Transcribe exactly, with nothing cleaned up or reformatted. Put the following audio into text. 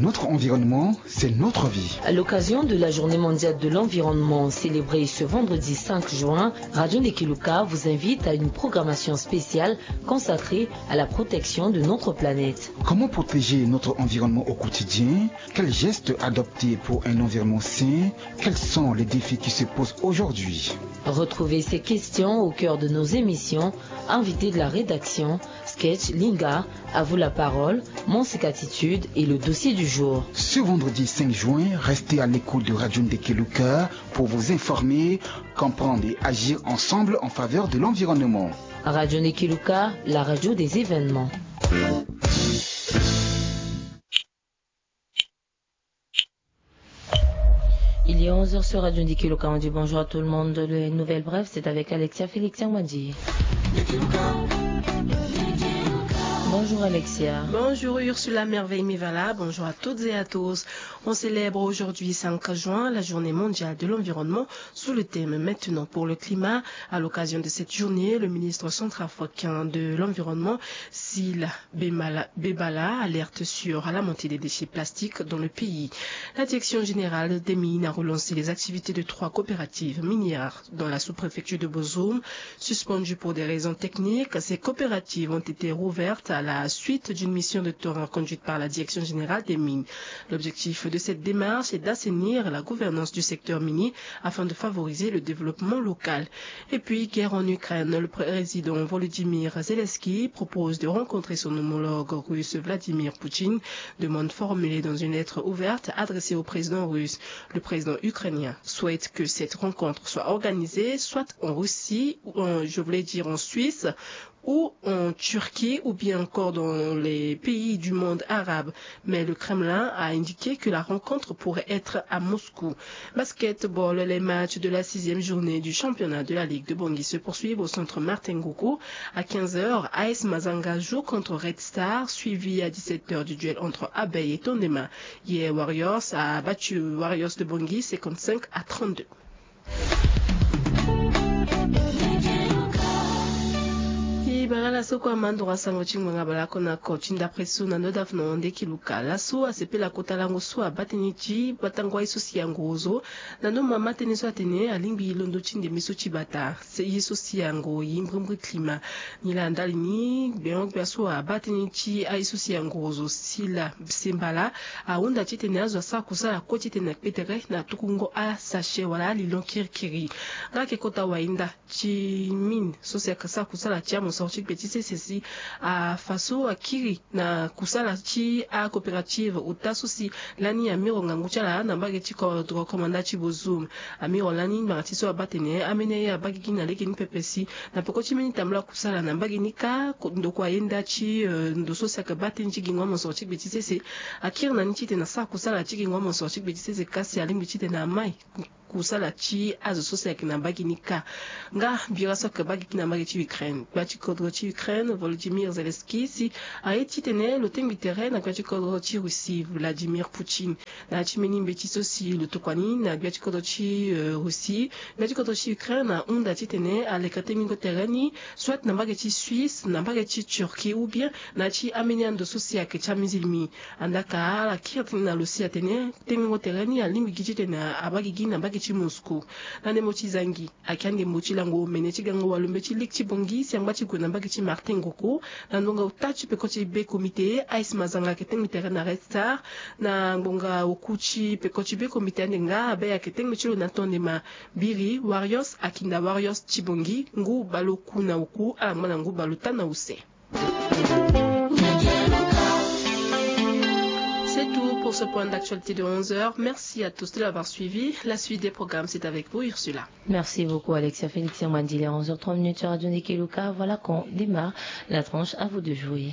Notre environnement, c'est notre vie. À l'occasion de la Journée mondiale de l'environnement célébrée ce vendredi cinq juin, Radio Ndekeluka vous invite à une programmation spéciale consacrée à la protection de notre planète. Comment protéger notre environnement au quotidien ? Quels gestes adopter pour un environnement sain ? Quels sont les défis qui se posent aujourd'hui ? Retrouvez ces questions au cœur de nos émissions, invités de la rédaction, sketch, linga, à vous la parole, mon sec attitude et le dossier du jour. Ce vendredi cinq juin, restez à l'écoute de Radio Ndekeluka pour vous informer, comprendre et agir ensemble en faveur de l'environnement. Radio Ndekeluka, la radio des événements. Il est onze heures sur Radio Ndekeluka. On dit bonjour à tout le monde. Les nouvelles brèves, c'est avec Alexia Félix Yangmandi. Bonjour Alexia. Bonjour Ursula Merveille Mivala. Bonjour à toutes et à tous. On célèbre aujourd'hui cinq juin la journée mondiale de l'environnement sous le thème Maintenant pour le climat. À l'occasion de cette journée, le ministre centrafricain de l'environnement, Sila Bemala- Bebala, alerte sur la montée des déchets plastiques dans le pays. La direction générale des mines a relancé les activités de trois coopératives minières dans la sous-préfecture de Bozoum. Suspendues pour des raisons techniques, ces coopératives ont été rouvertes à la suite d'une mission de terrain conduite par la direction générale des mines. L'objectif de cette démarche est d'assainir la gouvernance du secteur minier afin de favoriser le développement local. Et puis, guerre en Ukraine, le président Volodymyr Zelensky propose de rencontrer son homologue russe Vladimir Poutine, demande formulée dans une lettre ouverte adressée au président russe. Le président ukrainien souhaite que cette rencontre soit organisée soit en Russie, ou en- je voulais dire en Suisse, ou en Turquie, ou bien encore dans les pays du monde arabe. Mais le Kremlin a indiqué que la rencontre pourrait être à Moscou. Basketball, les matchs de la sixième journée du championnat de la Ligue de Bangui se poursuivent au centre Martin Ngogo. À quinze heures, A S Mazanga joue contre Red Star, suivi à dix-sept heures du duel entre Abeille et Tondema. Hier, Warriors a battu Warriors de Bangui cinquante-cinq à trente-deux. Ibara la so kue amandoro asango ti ngbanga bale oko na oko ti ndapre so na ndo dafu na wande kiluka laso asepela kota lango so abaa tënë ti batango aye so si angoro zo na ndo mama tënë so atene alingbi londo ti ndembe so ti bata. Ye so si angoro ye mbrimbri klima. Nilaa ndali ni gbengo-gbia so abaa tënë ti aye so si angoro zo sila sembala ahunda titene azo asara kusala kue titene akpe tere na tukungo asache wala alilon kirikiri. Nga ayeke kota wayenda ti mine so si ayeke sara kusala ti amosoro ti gbe ti sese si afa so akiri na kusala ti acoopérative ota so si lani amiro ngangu ti ala na mbage ti kodro komanda ti Bozoum. Amiro lani ngbanga ti so abaa tene ameni aye abaa gigi na lege ni pepe si na peko ti mbeni tambula kusala na mbage ni kâ. Ndokua ayenda ti ndo so si ayeke baa tënë ti gingo amosoro ti gbe ti sese akiri na ni titene asara kusala ti gingo amosoro ti gbe ti sese kasi alingbi titene amai kusala ti azo so si ayeke na mbage ni kâ. Nga bira so ayeke baa gigi na mbage ti Ukraine, gbia ti kodro ti Ukraine Volodymyr Zelensky si aye titene lo tengbi tere na gbia ti kodro ti Russie Vladimir Poutine. Na ya ti mbeni mbeti so si lo tokua ni na gbia ti kodro ti Russie, gbia ti kodro ti Ukraine ahunda titene aleke tengbingo tere ni soit na mbage ti Suisse, na mbage ti Turquie ou bien na ya ti ambeni ando so si ayeke ti amizilimi. Andaa ka ala kiri tënë na lo si atene tengbingo tere ni alingbi gi titene abaa gigi na mbage ti Moscou. Na ndembo ti zangi ayeke andembo ti lango omene ti gango walombe ti ligue ti Bangui si angba ti gue na mbage ti Martin Ngoko. Na ndonga ota ti peko ti be comité, Ice Mazanga ayeke tengbi tere na Red Star. Na ngbonga oku ti peko ti be comité ande nga abe ayeke tengbi ti lo na tondema. Biri Warriors akinda Warriors ti Bangui ngu bale oku na oku ala ngba na ngu bale ota na use. C'est tout pour ce point d'actualité de onze heures. Merci à tous de l'avoir suivi. La suite des programmes, c'est avec vous, Ursula. Merci beaucoup, Alexia Félix Yamandile. Onze heures trois minutes sur Radio Ndekeluka. Voilà qu'on démarre la tranche. À vous de jouer.